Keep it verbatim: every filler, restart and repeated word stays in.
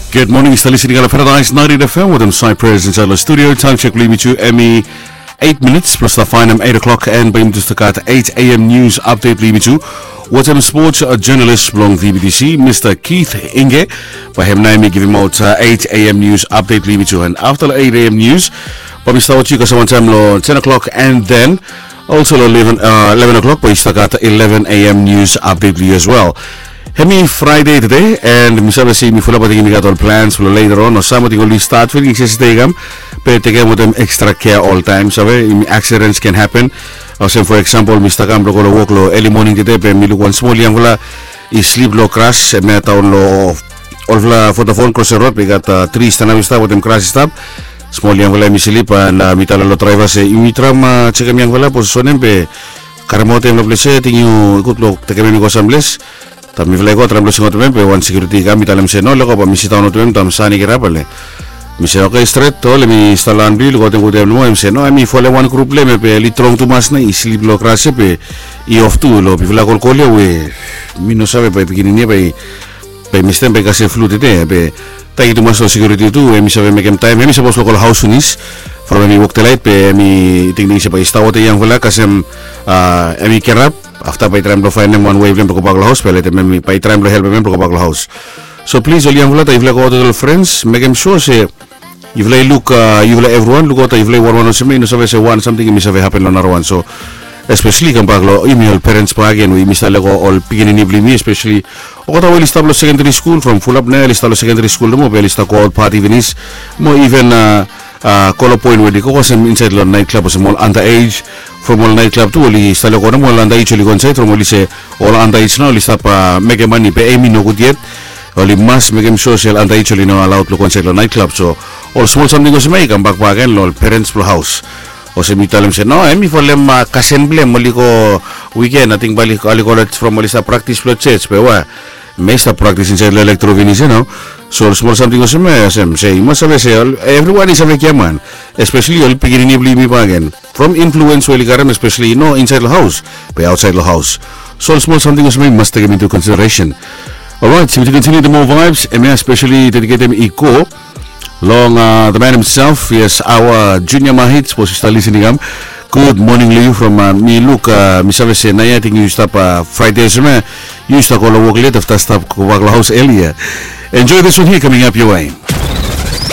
Gud moning, yu stap lisin long Paradise ninety-eight F M wetem Cypress insaed long studio. Taem sek blong yumi tu hemi eit minits blong stap faenem eit o'clock, and bae yumi tu stap gat eit A M news update blong yumi tu wetem sports journalist blong V B T C, Mr Keith Inge. Bae hem nao hemi givimaot eit A M news update blong yumi tu, and afta long eit A M news bae mi stap wetem yu kasem wantaem long ten o'clock, and then also long eleven o'clock bae yu stap gat eleven A M news update blong yu as well. Hemi Friday tede, and mi save se yumi fulap ating yumi gat ol plans blong later on, o sam ating oli stat feeling se tede i kam, be tekem wetem extra care oltaem. Save, yumi accidents can happen. Olsem, for example, mi stap kam blong go long wok long early morning tede, be mi luk wan smol yangfala i slip long gras, hemia daon long olfala Vodafone, cross the road, be i gat tri i stanap i stap wetem gras i stap. Smol yangfala hemi slip, and mi talem long draeva se yumi traem jekem yangfala, posisen hem, be karemaot hem long ples ia, ating yu gud blong tekem hem i go samples. Taem mifala i go traem blong singaot wetem hem, be wan security i kam, mi talem se no, lego, bae mi sidaon wetem hem taem san i kirap ale. Mi se oke, stret, ole, mi stap long han blong yu, lukautim gud hem nomo. Hem se no, hemi folem wan grup blong hem ia, be oli strong tumas nao, i slip long gras ia, be i of tu long bigfala kolkol ia we mi no save bae pikinini ia bae i, bae i mistem, bae i kasem flu tede. Be tangkiu tumas long security tu, hemi save mekem taem, hemi sapos long go long haos finis from hemi wok delaet, be hemi tingting se bae i stap wetem yangfala kasem hemi kirap. Afta bae i traem blong faenem wan wei blong hem blong gobak long haos, be letem hem, bae i traem blong helpem hem blong gobak long haos. So plis, ol yangfala, taem yufala i go aot wetem ol frens, mekem sua se yufala i luk, yufala evriwan, lukaot, taem yufala i wanwan olsem ia, yu no save se wan samting hemi save hapen long narawan. So espeseli kambak long yumi ol perens bakegen we yumi stap lego ol pikinini blong yumi, espeseli olgeta we oli stap long sekendari skul, from fulap nao oli stap long sekendari skul nomo, be oli stap goaot, pati finis, mo iven go long poen we oli go kasem insaed long naet klab olsem ol under age. From ol naet klab tu oli stap lego nomo, ol under age oli go insaed, from oli se ol under age nao oli stap mekem mane, be hemi nogud yet. Oli mas mekem sua se ol under age oli no alaod blong go insaed long naet klab. So ol smol samting olsem ia i kambak bakegen long ol perens blong haos. Olsem mi talem se no, hemi folem kasen blong hem, oli go wiken, ating bae oli go long, from oli stap praktis blong jos, be we hemi stap praktis insaed long elektro finis ia nao. So ol smol samting olsem ia, olsem se yu mas save se evriwan i save giaman, espeseli ol pikinini blong yumi bakegen, from influens we oli karem, espeseli no insaed long haos, be aotsaed long haos. So ol smol samting olsem ia yu mas tekem into consideration. Orait, yumi tu kontiniu wetem moa vibes, hemia espeseli dediketem i go long the man himself, yes, our Junior Mahit, sapos yu stap lisin i kam. Gud moning long yu from, mi luk, mi save se naoia ating yu stap Fraide olsem ia, yu stap go long wok let afta stap gobak long haos elia. Enjoy this one here coming up your way.